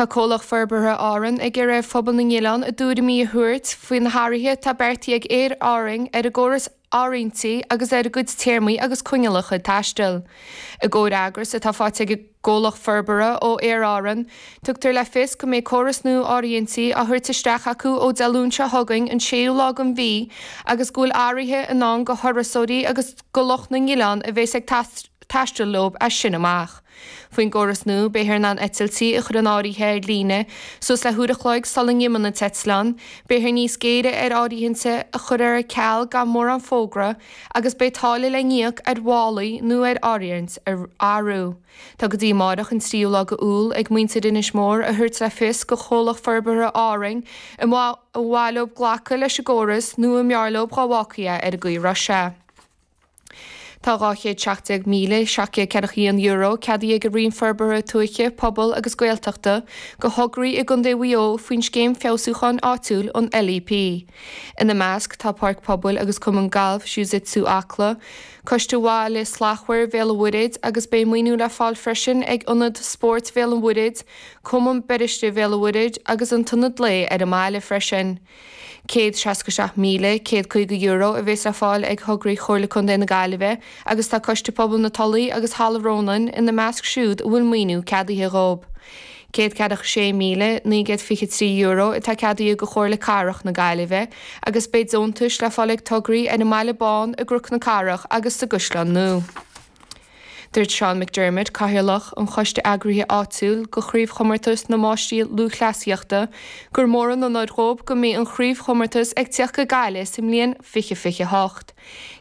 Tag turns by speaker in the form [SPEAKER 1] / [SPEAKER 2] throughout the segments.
[SPEAKER 1] Tá Comhlacht Forbartha Árann ag iarraidh ar phobal na n-oileán a dtuairimí a thabhairt faoi na hathruithe atá beartaithe ag Aer Árainn ar a gcóras áirithintí agus ar a gcuid téarmaí agus coinníollacha taistil. I gcomhfhreagras atá faighte ag an gComhlacht Forbartha ó Aer Árann, tugtar le fios go mbeidh córas nua áirithintí á thabhairt isteach acu ó Dé Luain seo chugainn an séú lá den mhí agus go bhfuil athruithe i ndán go thurasóirí agus go lucht na n-oileán a bheas ag taisteal leo as sin amach. Faoin gcóras nua, beifear in ann eitiltí a chur in áirithe ar líne suas le huair a chloig sula n-imíonn an t-eitleán, beifear níos géire ar áirithintí a chur ar ceal gan mórán fógra agus beidh táille le n-íoc ar mhálaí nó ar áirithint a athrú. Tá go dtí amáireach an tríú lá d'Iúil ag muintir Inis Mór a thabhairt le fios go Chomhlacht Forbartha Árainn an mhaith leo glacadh leis an gcóras nó an mb'fhearr leo dhá bhfágfaí é ar an gcaoi a raibh sé. Tá €217,741 ceadaithe ag an Roinn Forbartha Tuaithe, Pobail agus Gaeltachta go thograí i gContae Mhaigh Eo faoin Scéim Feabhsúcháin Áitiúil, an LEP. Ina measc tá Páirc Pobail agus Cumann Gailf Jiu-Jitsu Acla, Coiste Bhaile Slachtmhar Bhéal an Mhuirthead agus beidh maoiniú le fáil freisin ag Ionad Spóirt Bhéal an Mhuirthead, Cumann Beiriste Bhéal an Mhuirthead agus an tIonad Lae ar an mbaile freisin. €167,150 a bheas le fáil ag thograí Chomhairle Contae na Gaillimhe agus tá Coiste Pobail na Tulaí agus Halla Rónáin ina measc siúd a bhfuil maoiniú ceadaithe dhóibh. €146,923 atá ceadaithe go Chomhairle Cathrach na Gaillimhe agus beidh deontais le fáil ag tograí ar an mBaile Bán, i gCnoc na Cathrach agus sa gCaisleán Nua. Dúirt Seán McDermott, Cathaoirleach an Choiste Eagraithe Áitiúil go Chraobhchomórtas na Máistrí Lúthchleasaíochta, gur mór an onóir dhóibh go mbeidh an chraobhchomórtas ag tíocht go Gaillimh sa mbliain 2028.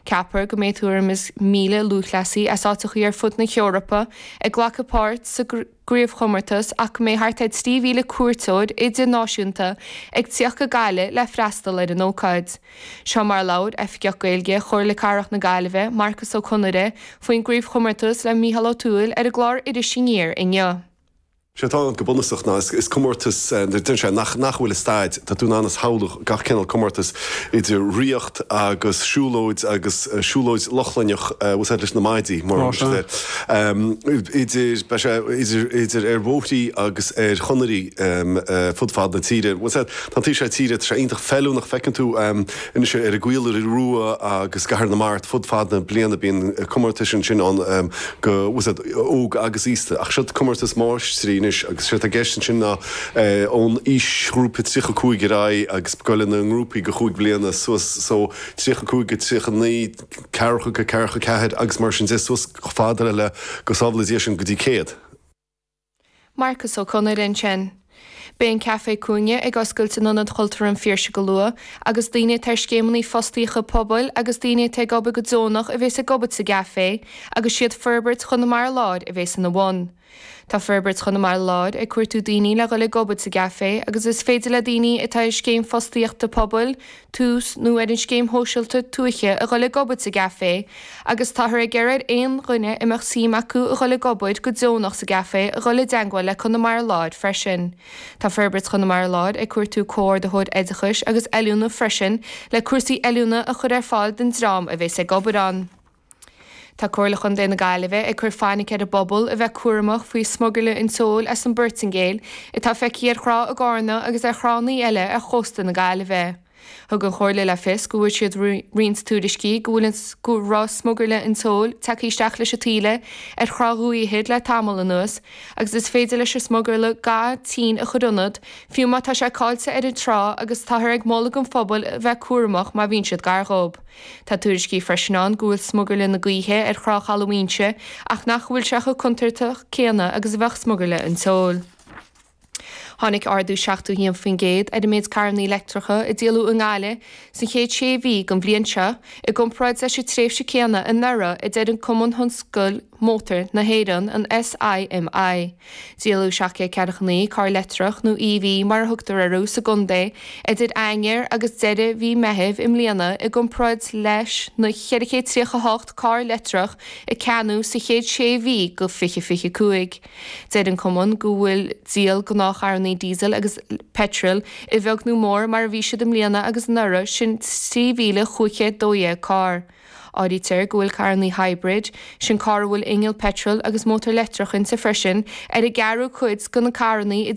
[SPEAKER 1] Ceapfar go mbeidh tuairim is 1,000 lúthchleasaí as áiteachaí ar fud na hEorpa ag glacadh páirt sa gcraobhchomórtas ach go mbeidh thart ar 3,000 cuairteoir idirnáisiúnta ag tíocht go Gaillimh le freastal ar an ócáid. Seo mar a labhair Oifigeach Gaeilge Chomhairle Cathrach na Gaillimhe, Marcas Ó Conaire, faoin gcraobhchomórtas le Mícheál Ó Tuathail ar an gclár Iris Aniar inniu.
[SPEAKER 2] Sé atá ann go bunúsach ná is comórtas deireann sé nach nach bhfuil i staid, tá tú in ann a shamhlú gach cineál comórtas idir ríocht agus siúlóid agus siúlóid Lochlainnech bhfuil a fhios agat leis na maidí mar a thugtar air. Idir, beidh sé idir idir ar bhóithrí agus ar chonairí fud fad na tíre. Bhfuil a fhios agat, tá an taobh seo tíre, tá sé iontach feiliúnach, feiceann tú anois ar an gCaola Rua agus gCathair na Mart fud fad na bliana bíonn comórtais ansin ann go, bhfuil a fhios agat, óg agus aosta. Ach seo comórtas máistrí anois agus séard atá i gceist ansin ná ón aoisghrúpa 35 ar aghaidh agus ag goil ina ngrúpaí go chúig bliana suas so 35 go 39, ceathracha go ceathracha ceathair agus mar sin de suas chomh fada le go sábhála Dia sinn go dtí 100.
[SPEAKER 1] Marcas Ó Conaire ansin. Beidh an Caifé Cúinne ag oscailt in Ionad Chultúrtha an Phiarsaigh go luath agus daoine atá ar scéimeanna fostaíochta pobail agus daoine atá ag obair go deonach a bhéas ag obair sa gcaifé agus siad Forbairt Chonamara Láir a bhéas ina bhun. Tá Forbairt Chonamara Láir ag cuartú daoine le dhul ag obair sa gcaifé agus is féidir le daoine atá ar scéim fostaíochta pobail, Tús, nó ar an Scéim Shóisialta Tuaithe a dhul ag obair sa gcaifé agus táthar ag iarraidh ar aon dhuine a mbeadh suim acu a dhul ag obair go deonach sa gcaifé a dhul i dteangmháil le Conamara Láir freisin. Tá Forbairt Chonamara Láir ag cuartú Comhordaitheoir Oideachais agus Oiliúna freisin le cúrsaí oiliúna a chur ar fáil don dream a bhéas ag obair ann. Tá Comhairle Chontae na Gaillimhe ag cur fainic ar an bpobal a bheith cúramach faoi smugairle an tseoil as an bPortaingéil atá feicthe ar thrá i gCarna agus ar thránna eile ar chósta na Gaillimhe. Thug an Chomhairle le fios go bhfuair siad roinnt tuairiscí go bhfuil an go raibh smugairle an tseoil tagtha isteach leis an taoille ar thrá Dhumhaigh Ithir le tamall anuas agus is féidir leis an smugairle ga tinn a chur ionat fiú má tá sé caillte ar an trá agus táthar ag moladh don phobal a bheith cúramach má bhíonn siad gar dhób. Tá tuairiscí freisin ann go bhfuil smugairle na gaoithe ar thrá Chaladh Mhaínse ach nach bhfuil sé chomh contúirteach céanna agus a bheadh smugairle an tseoil. Tháinig ardú 71% ar an méid carrannaí leictreacha a díoladh i nGaillimh sa chéad sé mhí den bhliain seo i gcomparáid leis an tréimhse céanna anuraidh, a deir an Cumann Thionscail Mótar na hÉireann, an SIMI. Díoladh 749 carr leictreach, nó EV mar a thugtar orthu, sa gcontae idir Eanáir agus deireadh mhí Meithimh i mbliana i gcomparáid leis na 438 carr leictreach a ceannaíodh sa chéad sé mhí de 2025. Deir an cumann go bhfuil díol gnáthcharrannaí diesel agus peitril a bheag nó mór mar a bhí siad i mbliana agus anuraidh, sin 3,512 carr. Áirítear go bhfuil carrannaí hybrid, sin carr a bhfuil inneall peitril agus mótar leictreach inti freisin, ar an gceathrú cuid de na carrannaí a.